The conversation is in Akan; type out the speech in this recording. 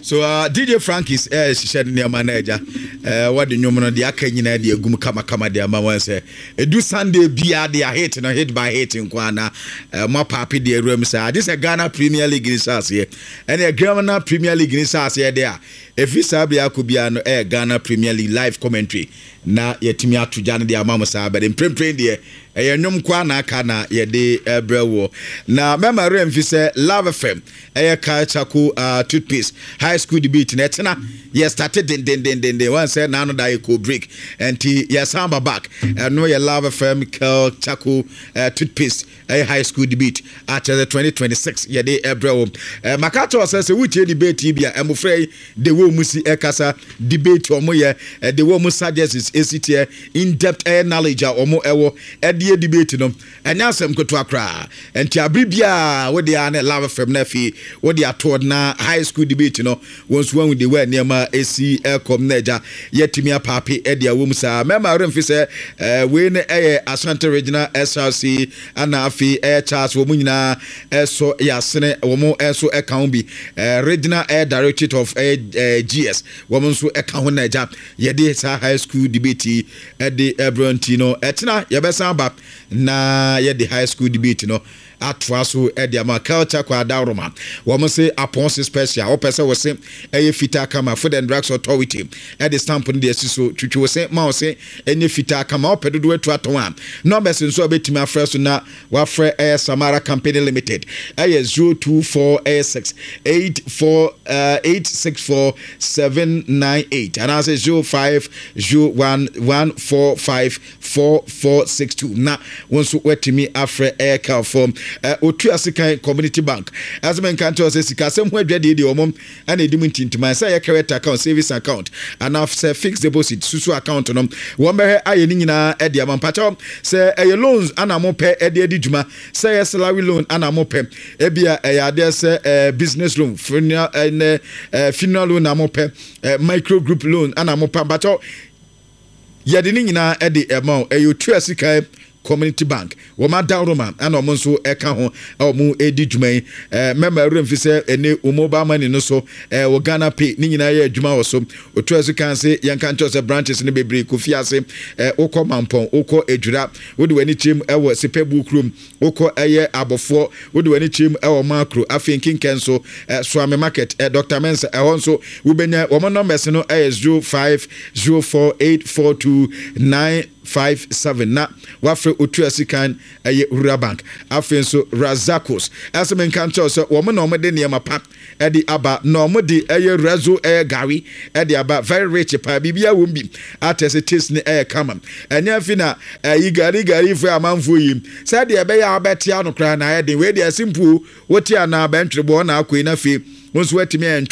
So DJ Frankis ɛhyehyɛ ne nneɛma no agya wɔde nnwom no deɛ aka nyinaa de agum kamakama de ama wɔn sɛ ɛdu Sunday biara de a hit no hit by hit nko ana mo apaape deɛ awura mu saa, agye sɛ Ghana Premier League ni hyɛ aseɛ. Ɛne Ghana Premier League ni hyɛ aseɛ deɛ a, ɛfiri saa bere akɔ biara no, ɛyɛ Ghana Premier League live commentary na yɛtumi ato gya no de ama mo saa. Bɛde mprempren deɛ, ɛyɛ nnwom koa na aka na yɛde ɛbrɛ wɔ. Na mɛma werɛ mfi sɛ Love FM ɛyɛ Kel Charcoal toothpaste high school debate na ɛtena yɛ start dendendendenden wɔn sɛ n'ano da yɛ kɔ break, nti yɛsan ba back. Ɛno yɛ Love FM Kel Charcoal toothpaste ɛyɛ high school debate akyerɛ sɛ 2026 yɛde ɛbrɛ wɔ. Maka kyerɛ sɛ wotie debate yi bi a, mmɔfra yi de wɔn mu si ɛkasa debate, wɔn yɛ ɛde wɔn mu suggestions esi teɛ, in depth ɛyɛ knowledge a wɔn ɛwɔ ɛde yɛ debate no, ɛnyɛ asɛm ketewa koraa. Nti abere biara wode a ne Love FM no, afei wode atoɔ na high school debate no, wɔn nso wɔn de wɔ nneɛma esi ɛkɔm na agya yɛtumi apaape ɛde awɔ mu saa. Mɛma remfi sɛ wei no ɛyɛ Ashanti Regional SRC, ana afei ɛyɛ Charles, wɔn nyinaa ɛsɔ yɛasene, wɔn nso ɛka ho bi. Regional ɛyɛ Directorate of ɛyɛ GS, wɔn nso ɛka ho na agya yɛde saa high school debate yi ɛde ɛbrɛ. Nti no ɛtena yɛbɛsan ba na yɛde high school debate no atoa so ɛde ama. Culture kɔ adaworoma, wɔn se apɔnse special, wɔpɛ sɛ wɔse ɛyɛ fitaa kama. Food and Drugs Authority ɛde stamp no de asi so, twitwi wɔse ma wɔse ɛnyɛ fitaa kama. Wɔpɛ dodoɔ atu atɔn a, numbers nso a wɔbɛtumi afrɛ so na wafrɛ ɛyɛ Samara Company Limited, ɛyɛ 024 ɛyɛ 6 8 4 8 6 4 7 9 8 anaasɛ 0501 145 4462 na wɔn nso watumi afrɛ ɛyɛ Calfo. Otu Asekan Community Bank ɛsɛ mɛnka nkyɛn sɛ sikasɛm ho adwadeɛ deɛ, wɔn ɛna edi mu ntintiman sɛ ɛyɛ current account, savings account anaa sɛ fixed deposit, susu account no, wɔn bɛhwɛ ayɛ ne nyinaa ɛde ama. Mpakyɛw, sɛ ɛyɛ loans ana mo pɛ ɛde adi dwuma, sɛ ɛyɛ salary loan ana mo pɛ, ebia ɛyɛ adeɛ sɛ business loan, funeral ɛnɛ funeral loan na mo pɛ, micro group loan ana mo pɛ, mpakyɛw, yɛde ne nyinaa ɛde ɛma o. Ɛyɛ Otu Asekan Community Bank, wɔn adaworoma ɛna wɔn nso ɛka ho a wɔn redi dwuma yi. Mɛma awura mfi sɛ ɛne wɔn mobile money no so wɔ Ghana Pay ne nyinaa yɛ adwuma wɔ so. Otu ɛso kan se yɛn ka nkyɛn sɛ branches no bebree: Kofi Ase, wokɔ Mampɔn, wokɔ Edwira, wode w'ani kyerɛ mu ɛwɔ Sepɛbu kurom, wokɔ ɛyɛ Abɔfoɔ, wode w'ani kyerɛ mu ɛwɔ Maakro, afei Nkinkɛn nso Suame Market, Dr Mensa ɛhɔ nso wobɛnya wɔn. Numbers no ɛyɛ 0504842957 na wafrɛ Otu Asikan ɛyɛ Rural Bank. Afei nso Razakos ɛsɛ menka nkyɛw sɛ wɔn na wɔde nneɛma pa ɛde aba na wɔn de ɛyɛ Razo ɛyɛ gari ɛde aba, very rich paa, biribi awɔ bi atɛ sɛ taste ne ɛyɛ kama. Ɛnyɛ afi na ɛyi gari gari fo amanfoɔ yi sɛdeɛ ɛbɛyɛ a wobɛte ano koraa na ayɛ den. Wei deɛ simple, wote anaa bɛntwere bɔ na akɔ yi na afei wɔn nso watumi ɛntwɛ.